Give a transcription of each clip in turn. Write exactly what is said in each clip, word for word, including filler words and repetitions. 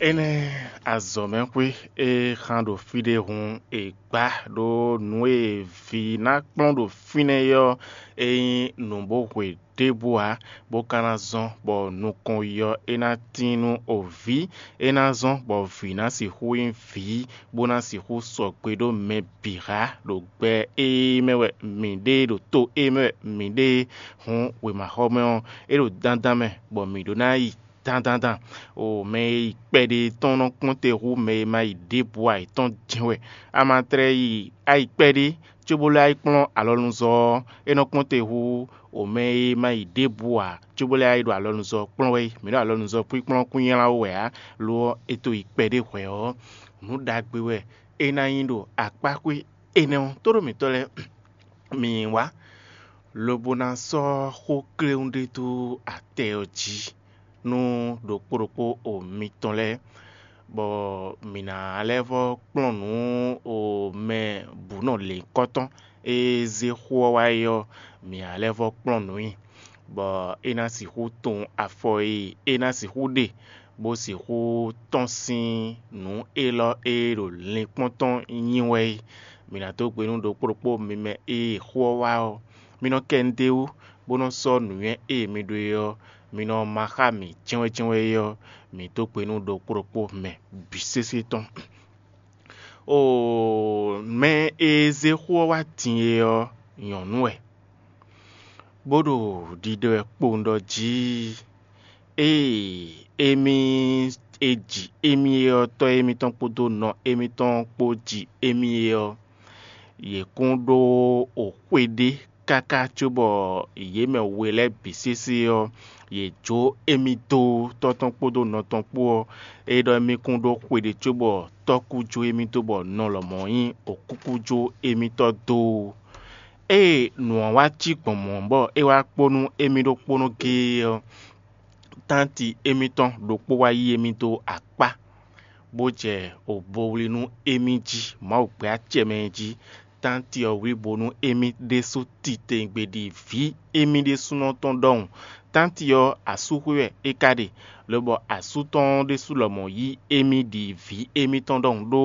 Énɛ́ azɔ̌mɛxwé e xan ɖo fí ɖé hun è gbǎ ɖó nǔ e vǐ ná kplɔ́n ɖo fínɛ́ é ɔ́, é nyí nǔ bó hwe ɖěbǔ ǎ, bó ka ná zɔ́n bɔ nukɔn yi ɔ́, é ná tíin nú ovǐ; é ná zɔ́n bɔ vǐ ná sixú nyí vǐ, bó ná sixú sɔgbe ɖó mɛ bǐ xá ɖo gbɛ e mɛ wɛ mǐ ɖe ɖo to e mɛ wɛ mǐ ɖe hǔn wěmaxɔmɛ ɔ́, é ɖo dandan mɛ bɔ mǐ ɖó ná yi dandandan. O mɛ e yi kpɛɖé tɔn nɔ kpɔ́n te hú mɛ e ma yi ɖěbǔ ǎ é tɔn jɛ́n wɛ. A ma tlɛ yi a yi kpɛɖé cóbó lɛ́ yi kplɔ́n alɔnuzɔ́ ɔ́, é nɔ kpɔ́n te hú o mɛ e ma yi ɖěbǔ ǎ cóbó lɛ́ yi ɖo alɔnuzɔ́ kplɔ́n wɛ. Mǐ ɖo alɔnuzɔ́ kpíkplɔ́n kún nylá ó wɛ ǎ; lo ɔ́, è to yi kpɛɖé hwɛ̌ ɔ́, nǔ ɖagbe wɛ é ná nyí ɖo akpáxwé énɛ́ ɔ́. Tóɖó mǐtɔn lɛ́ɛ, mǐ yi wá, lobo ná sɔ́ xó kléwún ɖé dó atɛ ɔ́ jí nú ɖokpó ɖokpó o mitɔn lɛ́ɛ, bɔ mǐ ná lɛ́ vɔ́ kplɔ́n nǔ o mɛ bǔ nɔ lěnkɔ́tɔn e zé xó ɔ́ wá é ɔ́, mǐ ná lɛ́ vɔ́ kplɔ́n nǔ i, bɔ é ná sixú tunwun afɔ e é ná sixú ɖe, bó sixú tɔ́n sín nǔ élɔ́ e ɖo linkpɔ́n tɔn nyi wɛ é. Mǐ ná dó gbe nú ɖokpó ɖokpó mi mɛ e xó ɔ́ wá ɔ́, mi nɔ kɛ nu d'é wú, bó nɔ́ sɔ́ nǔnywɛ́ e mi ɖó é ɔ́, mi nɔ má xá mǐ jɛ́nwɛ́jɛ́nwɛ́ é ɔ́, mǐ dó gbe nú ɖokpó ɖokpó mɛ bǐ sésé tɔn. Oo, mɛ e zé xó ɔ́ wá din é ɔ́, nyɔ̌nu wɛ, bó ɖo ɖiɖɔ wɛ kpowun ɖɔ jí. Ée émí e ji émí é ɔ́, tɔ́ émítɔn kpódó nɔ émítɔn kpó ji émí é ɔ́, yě kún ɖó xwe ɖé káká cóbɔ yě mɛ we lɛ́ɛ bǐ sésé ɔ́, yě jó émí dó tɔ́ tɔn kpódó nɔ tɔn kpó ɔ́, é ɖɔ émí kún ɖó xwe ɖé cóbɔ tɔ́ kú jó émí dó bɔ nɔ lɔmɔ̌ nyí okúkú jó émítɔn dó. Ée nǔ ɔ́ wá cí gbɔn mɔ̌ bɔ é wá kpó nú émí ɖokpónɔ géé ɔ́, tánti émítɔn ɖokpó wá yí émí dó akpá, bó jɛ obowlí nú émí jí Mawu gbɛ́ acɛ mɛ é jí. Tánti ɔ́ wlí bo nú émí ɖésú titewungbe ɖi vǐ émí ɖésúnɔ tɔn ɖɔhun. Tánti ɔ́, asúxwé wɛ é ka ɖe, lobɔ asú tɔn ɔ́ ɖésú lɔmɔ̌ yí émí ɖi vǐ émítɔn ɖɔhun ɖó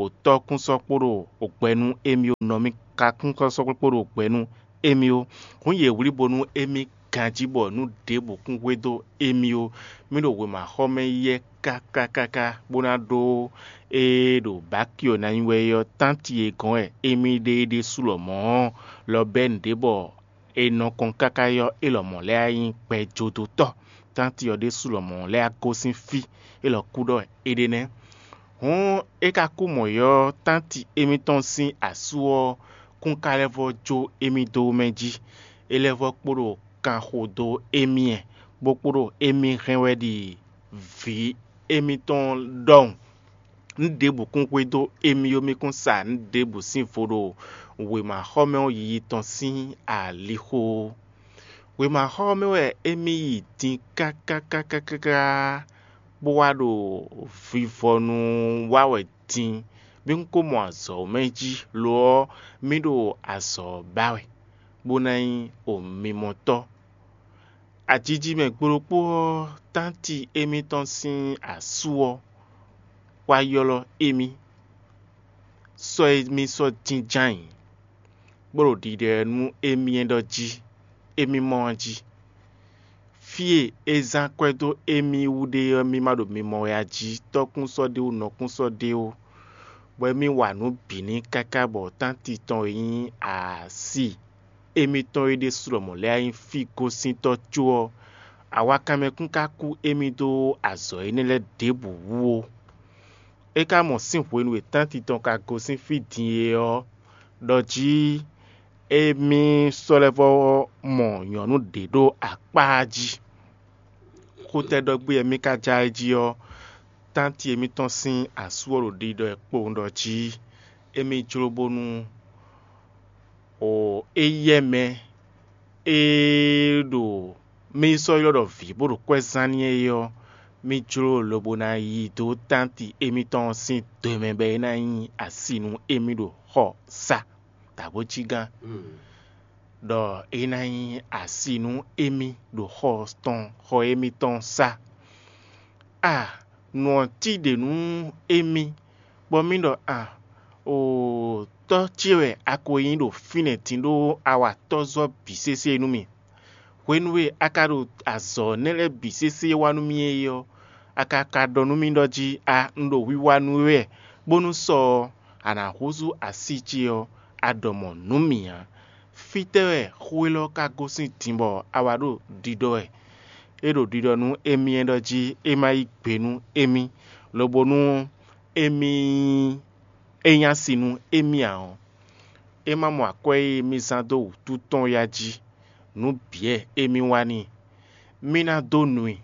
òtɔ́ kún sɔ́ kpo ɖo gbɛ nú émí ó, nɔ mì ka kún sɔ́ kpo ɖo gbɛ nú émí ó. Hǔn yě wlí bónú émí ganjí bɔ nǔ ɖěbǔ kún hwedó émí ó. Mì ɖo wěmaxɔmɛ yɛ káká káká bó ná ɖó ée ɖo Bakio ná nyí wɛ é ɔ́, tánti e gɔ́n wɛ émí ɖe é ɖésú lɔmɔ̌ ɔ́, lɔ bɛ́ nǔɖé bɔ è nɔ kɔn káká ɔ́, é lɔmɔ̌ lɛ́ wá nyí gbɛjodótɔ́. Tánti ɔ́ ɖésú lɔmɔ̌ lɛ́ wá gosín fí, é lɔ kú ɖɔ é ɖe nɛ́. Hǔn é ka kú mɔ̌ ɔ́, tánti émítɔn sín asú ɔ́ kún ka lɛ́ vɔ́ jó émí dó mɛ jí; é lɛ́ vɔ́ kpo ɖo kanxo dó émí ɛ, bó kpo ɖo émí hɛn wɛ ɖi vǐ émítɔn ɖɔhun. Nǔ ɖěbǔ kún hwedó émí ó, mì kún sa nǔ ɖěbǔ sín vo ɖo wěmaxɔmɛ ɔ́ yiyi tɔn sín alixo ó. Wěmaxɔmɛ wɛ émí yi din káká káká káká, bó wá ɖo vivɔnu wa wɛ din. Mì kún ko mɔ azɔ̌ mɛ jí, lo ɔ́, mì ɖo azɔ̌ ba wɛ, bó ná nyí omimɔtɔ́. Ajiji mɛ gblokpó ɔ́, tánti émítɔn sín asú ɔ́ wá ylɔ́ émí, sɔ́ émí sɔ́ jínjɔ́n ayǐ, bó ɖo ɖiɖɛ nú émí é ɖɔ jí, émí mɔ ɔ́ jí. Fí e é zán akwɛ́ dó émí wú ɖe ɔ́, mì ma ɖo mimɔ wɛ a jí, tɔ́kún sɔ́ ɖé ó, nɔkún sɔ́ ɖé ó, bɔ émí wa nǔ bǐ n'i káká bɔ tánti tɔn e nyí asi émítɔn é ɖésú lɔmɔ̌ lɛ́ wá nyí fí gosíntɔ́ có ɔ́, awakanmɛ kún ka kú émí dó azɔ̌ énɛ́ lɛ́ɛ ɖěbǔ wú ó. É ka mɔ sín hwenu e tánti tɔn ka gosín fí din é ɔ́, ɖɔ jí émí sɔ́ lɛ́ vɔ́ mɔ nyɔ̌nu ɖě ɖo akpá jí. Xutɛ́ ɖɔ gbé wɛ mì ka ja é jí ɔ́, tánti émítɔn sín asú ɔ́ ɖo ɖiɖɔ ɛ kpowun ɖɔ jí émí jló bónú o éyɛ́ mɛ e ɖo mì sɔ́ ylɔ́ ɖɔ vǐ bó ɖo kwɛ́ zán n'i é ɔ́, mì jló lobo ná yi dó tánti émítɔn ɔ́ sín do mɛ bɔ é ná nyí asi nú émí ɖo xɔ sá dǎbójígán, ɖɔ é ná nyí asi nú émí ɖo xɔ tɔn xɔ émítɔn sá. A nǔ ɔ́ cí ɖě nú émí, bɔ mì ɖɔ: A, oo, tɔ́ ce wɛ a ko nyí ɖo fínɛ́ din ɖó awatɔ́zɔ́ bǐ sésé nú mì. Hwenu e a ka ɖo azɔ̌ nɛ́ lɛ́ɛ bǐ sésé wa nú mì é ɔ́, a ka ka ɖɔ nú mì ɖɔ jí: A, un ɖo wiwa nú we wɛ, bónú sɔ ɔ́, a nǎ húzú así ce ɔ́, a ɖɔ mɔ̌ nú mì ǎ. Fítɛ́ wɛ xó élɔ́ ka gosín din bɔ a wǎ ɖo ɖiɖɔ wɛ? É ɖo ɖiɖɔ nú émí é ɖɔ jí é má yí gbe nú émí, lobo nú émí é nyí asi nú émí ǎ ɔ́, é má mɔ akwɛ́ e mì zán dó wǔtu tɔn ya jí. Nǔ bǐ wɛ émí wa n'i. Mì ná dó nu i,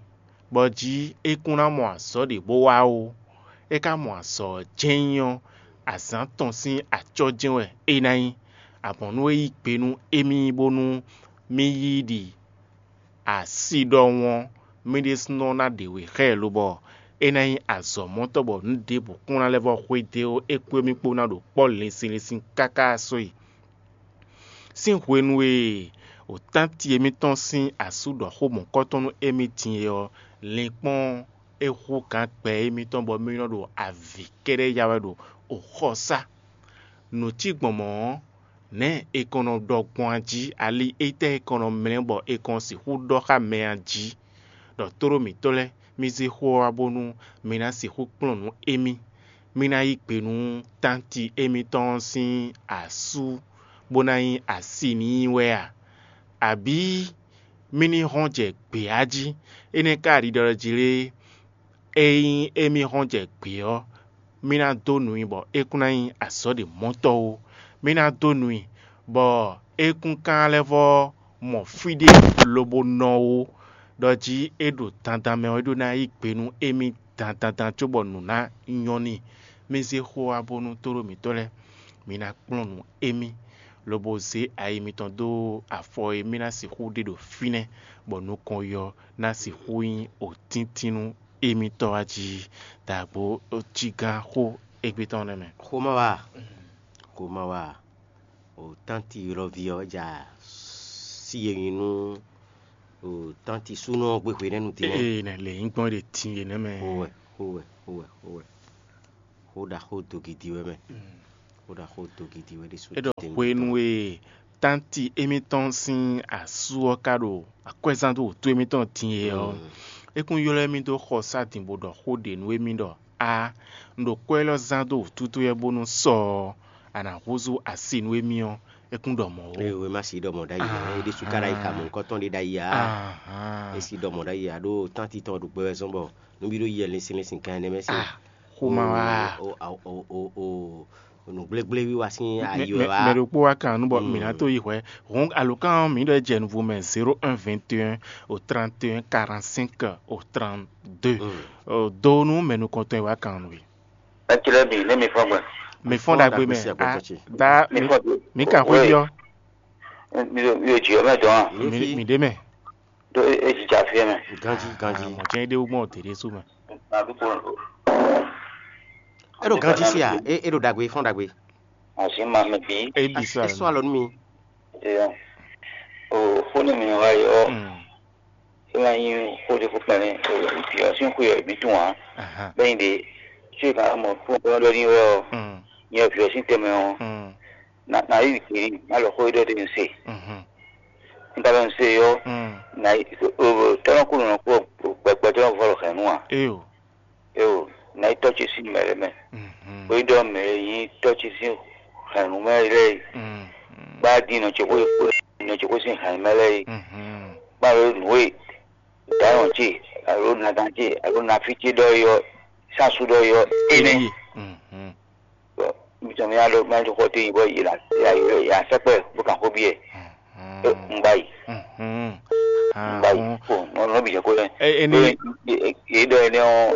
bɔ jí é kún ná mɔ azɔ̌ ɖě bó wá ó. É ka mɔ azɔ̌ ɔ́ jɛ́n nyí ɔ́, azǎn tɔn sín acɔ́ jɛ́n wɛ é ná nyí. Amɔ̌ nú é yí gbe nú émí bónú mì yí ɖi asi ɖɔhun ɔ́, mì ɖésúnɔ ná ɖe wě xá ɛ lobɔ é ná nyí azɔ̌mɔtɔ́ bɔ nǔ ɖěbǔ kún ná lɛ́ vɔ́ xwedó é kpó émí kpó ná ɖo kpɔ́ linsin linsin káká sɔ́yi. Sín hwenu e wǒtánti émítɔn sín asú ɖɔ xó mɔ̌kɔ́tɔn nú émí din é ɔ́, linkpɔ́n é hú gǎn gbɛ émítɔn bɔ mì nɔ ɖo avǐ kɛ́ɖɛ́ ya wɛ ɖo oxɔsá. Nǔ cí gbɔn mɔ̌ ɔ́, nɛ̌ è kɔn nɔ ɖɔ gbɔn a jí? Ali étɛ́ è kɔn nɔ mlɛ́ bɔ è kɔn sixú ɖɔ xá mɛ a jí? Ɖɔ tlóló mǐtɔn lɛ́ɛ, mì zé xó ɔ́ wá bónú mi ná sixú kplɔ́n nǔ émí. Mi ná yí gbe nú tánti émítɔn ɔ́ sín asú, bó ná nyí asi n'i wɛ a? Abǐ mì ní hɔn jɛ gbě a jí? Énɛ́ ka ɖiɖɔ jí lé? Ényí émí hɔn jɛ gbě ɔ́, mì ná dó nu i bɔ é kún ná nyí azɔ̌ ɖě mɔtɔ́ ó. Mì ná dó nu i bɔ é kún ka lɛ́ vɔ́ mɔ fí ɖé lobo nɔ ó, ɖɔ jí é ɖo dandan mɛ ɔ́, é ɖó ná yí gbe nú émí dandandan cóbɔ nǔ ná nyɔ́ n'i. Mì zé xó wá bónú tóɖó mǐtɔn lɛ́ɛ, mi ná kplɔ́n nǔ émí, lobo zé ayi mitɔn dó afɔ e mì ná sixú ɖe ɖo fínɛ́, bɔ nukɔn yɔ ná sixú nyí òtíntín nú émítɔn wá jí. Dǎgbó jígán xó égbé tɔn nɛ́ mɛ. Xomɛ wa, xomɛ wa, o tánti ylɔ́ví ɔ́ ja sí e nyi nú o tánti súnɔ ɔ́ gbé hwenɛ́nu din nɛ́. Ee, nɛ lě nyí gbɔn ɖe tin e nɛ́ mɛ. Xowɛ, xowɛ, xowɛ, xowɛ. Xó ɖaxó dogidi wɛ mɛ. Xó ɖaxó dogidi wɛ ɖésú. É ɖɔ hwenu e tánti émítɔn sín asú ɔ́ ka ɖo akwɛ́zán dó wǔtu émítɔn din é ɔ́, é kún ylɔ́ émí dó xɔ sá din bó ɖɔ xó ɖě nú émí ɖɔ: A, un ɖo kwɛ́ élɔ́ zán dó wǔtu towe wɛ bónú sɔ ɔ́, a nǎ húzú asi nú émí ɔ́, é kún ɖɔ mɔ̌ ó. Ee, wema si ɖɔ mɔ̌ ɖ'ayǐ ǎ, é ɖésú ka ɖ'ayǐ xa mɔ̌hunkɔtɔn ɖé ɖ'ayǐ ǎ. É si ɖɔ mɔ̌ ɖ'ayǐ ǎ, ɖó tánti tɔn ɖo gbɛ wɛ zɔ́n bɔ nú bí ɖó yi linsin linsin gan ɛnɛ mɛ sín. Xomɛ wa. O, o, o, o, o, nǔgblégblé wiwa sín ayi wɛ wa. Mɛ ɖokpó wa kan nú bɔ mǐ ná tó yi hwɛ. Hɔn alǒkan ɔ́, mǐ ɖɔ jɛ nuvo mɛ zéro un vingt et un au trente et un quarante-cinq au trente-deux. Do nú mɛ nukɔntɔn e wa kan nú we. Eclɛ bi ne mi fɔ gbɛ. Mi fɔn ɖagbe mɛ. Da mi kan xwé biɔ. Mi ɖo mi ɖo jiyɔ mɛ dɔn. Mi ɖe mɛ. Ɖó e jija fi mɛ. Ganji, ganji. Mɔ̌ jɛ́n é ɖe wú gbɔn ɔ́, tě ɖésú mɛ. É ɖo ganji fia, é é ɖo ɖagbe, fɔ́n ɖagbe. Asi ma mɛ bí. É bi sɔ É sɔ́ alɔ nú mi. Eyɔ. O xó ne mi wa yɔ. Mm. É ma nyí xó ɖé xó kpɛnɛ. O yɔ sín xó yɔ mi tún wa. Aha. Bẹ́ẹ̀ ni de. Tí o ka mọ̀ kó bọ́ lórí wọ́. Mm. Nyɛ fi ɔ sín tɛmɛ ɔ. Mm. Na na yi kiri na lɔ xó ɖɔ ɖe n se. Mhm. N ta lɔ n se yɔ. Mm. Na yi tɔlɔ kú nɔ kú gbɛgbɛ tɔlɔ vɔ lɔ hɛn nu a. Eyo. Eyo, na yi tɔ ce sin mɛ lɛ mɛ. Mhm. O yi ɖɔ mɛ yi tɔ ce sin hɛn nu mɛ lɛ yi. Mm. Ba di nɔ ce ko nɔ ce ko sin hɛn mɛ lɛ yi. Mhm. Ba lo nu e dayɔn ce alo nagan ce alo nafi ce ɖɔ yɔ sasu ɖɔ yɔ ene. Eyi. Mhm. Bɔ mi tɔn mi alo ma to xɔ te yi bɔ yi la ya yi ya sɛkpɛ bó kan xó biɛ. Mhm. E n ba yi. Mhm. N ba yi. Ahun. Ko nɔ nɔ bi jɛ ko lɛ. E- eni- E- e- e dɔ ene ɔ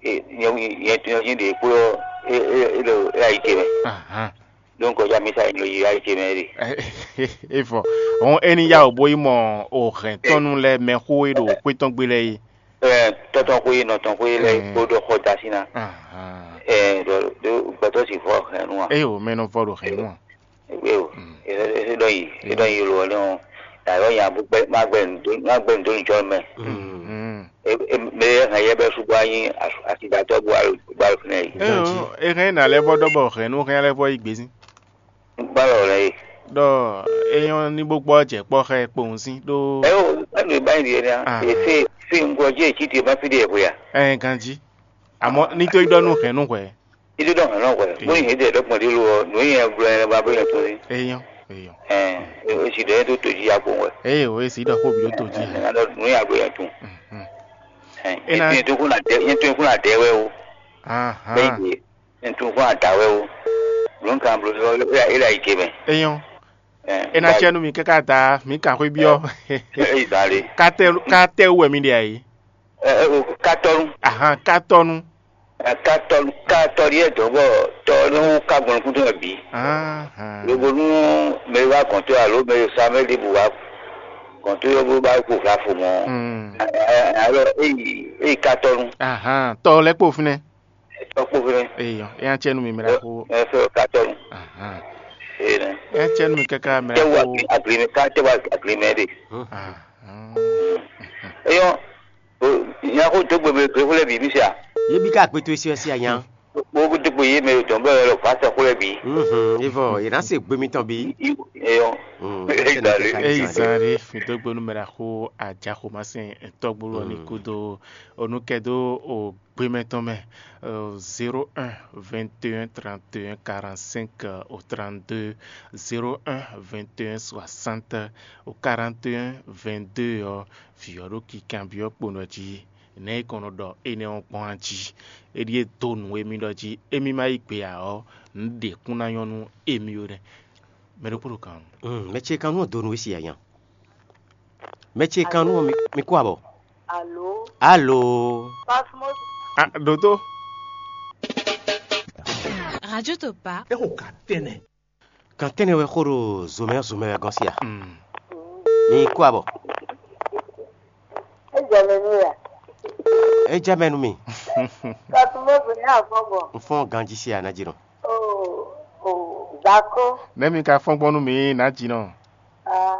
e nyɛ nyɛ nyɛ nyɛ de kpo ɔ e e e do e ayi te mɛ. Ahan. Donc ɔjà mi sa yi lo yi ayi te mɛ de. Efɔ. Hɔn eni ya o bo yi mɔ o hɛn tɔnu lɛ mɛ xo e ɖo xwe tɔn gbe lɛ yi. Ɛ tɔtɔn xwe nɔtɔn xwe lɛ kpo ɖɔ xɔ dasi na. Ahan. Ɛ ɖɔ ɖɔ gbɛtɔ si vɔ hɛn nu a. Eyo, mɛ nɔ vɔ ɖo hɛn nu a. Ewé o, e ɖɔ yi e ɖɔ yi lo ɔlɛ o, ta yɔ nya bu gbɛ ma gbɛ ndo ma gbɛ ndo jɔ mɛ. Mm. Mɛ e hɛn yɛ bɛ su bɔ anyi asidatɔ bɔ alo fínɛ yi. Eyo, e hɛn ná lɛ bɔ dɔ bɔ hɛn nu hɛn lɛ bɔ yi gbezin. Gbalɔ lɛ yi. Dɔ eyɔn ní bó gbɔ jɛ kpɔ xɛ kpowun sín ɖó. Eyo, ɛnu ba yi diɛ nia. Ah. Ese fi ŋgɔ jɛ etsi te ma fi de ɛhwe ya. Ɛ ganji. Àmọ́ ní tó yi ɖɔ nú hɛn nú hwɛ. Ilé dɔ hɛn nɔ hwɛ. Bó yin hɛn dɛ dɔ gbɔn dé lo ɔ, nù yẹn gblɔ yẹn ba bó yẹn tún ní. Eyɔn, eyɔn. Ɛ, esi dɔ yẹn tó tó jí ya kpowun wɛ. Eye o esi dɔ xó bi ɖó tó jí. Ɛ, nù yẹn gblɔ yẹn tún. Ena- Yẹn tún kún na dɛ, yẹn tún kún na dɛ wɛ o. Bẹ́ẹ̀ Ahan. Ni yẹn tún kún na da wɛ o. Ló ń kan bolo lọ, ilé ayé ké mɛ. Eyɔn. Ɛ, Ena tiɛ nu mi kaka ta mi kan xwé biɔ. Eyi da le. Katɛ katɛ wɛ mi ɖe ayi. Ɛ, ɛ, o katɔnu. Ahan katɔnu. Ɛ, katɔnu katɔnu yɛ dɔn bɔ tɔ ne wo ka gbɔn kúndùn ɛ bi. Ahan. Lobo nu mɛ wa kɔntɔ alo mɛ sa mɛ de bu wa kɔntɔ yɔ bó ba ko fla fo mɔ. Hmm. Ɛ, ɛ, alo eyi eyi katɔnu. Ahan tɔ lɛ kpo finɛ. Tɔ kpo finɛ. Eyɔ eya tiɛ nu mi mɛ la ko. Ɛ fɛ katɔnu. Ahan. Eyi nɛ. Eya tiɛ nu mi kaka mɛ la Tɛ wa ko. Aglimɛ ka tɛ wa aglimɛ de. Ahan. Eyɔ. Nya xó dó gbe mɛ gběxó lɛ́ɛ bǐ mì se a? Yě bí ká akpétó é sí wɛ sí anya. Bó dó gbe yé mɛ dɔn bɔ yɔ vǎ sɛxó lɛ́ɛ bǐ. Mhm, é vɔ yě ná se gbe mitɔn bí. Eyɔn. Mm, Eyi zan ɖe. Eyi zan ɖe mi dó gbe nú mɛ ɖaxó ajaxomasɛn tɔgbóló ɔ́ ní kúdó onúkɛdó o gbémɛ tɔn mɛ. Zéro un vingt et un trente et un quarante-cinq au trente-deux, zéro un vingt et un soixante au quarante et un vingt-deux ɔ́, vǐ ɔ́ ɖo kikanbyɔ́ kponɔ jí. Nɛ̌ è kɔn nɔ ɖɔ énɛ́ ɔ́ gbɔn a jí? É ɖíe dó nǔ émí ɖɔ jí émí ma yí gbe ǎ ɔ́, nǔ ɖě kún ná nyɔ́ nú émí ó nɛ́. Mɛ ɖokpó ɖo kan. Mm, mɛ ce kan nú ɔ́ dó nú we si anya. Mɛ ce kan nú ɔ́ mi, mi kú abɔ. Alo. Alo. Pasmos. Ah, ɖǒtó. Radio Topa. É xo ka tɛnɛ. Kan tɛnɛ wɛ xó ɖo zomɛ zomɛ wɛ gɔ́n sí a? Mm. Mi kú abɔ. Ejɔ mɛ nú ya. É jɛ mɛ nú mi. Pasmos ní àfọ́gbọ̀n. N fɔ́n ganjí sí a ná jí nɔ. O, o, Zako. Nɛ́ mi ka fɔ́n gbɔn nú mi ná jí nɔ? Ah,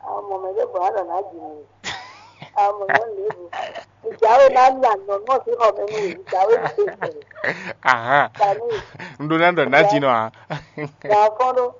àwọn ọmọ mi ló bọ̀ wá lọ ná jí nɔ. Àwọn ọmọ yẹn lè bù. Ìjà wo náà ní àná náà sí ọmọ mi nìyí. Ìjà wo ní ṣe ìbẹ̀rẹ̀. Aha. Ìjà ní. N ɖó ná ɖɔ ná jí nɔ a? Ìjà fọ́n ló.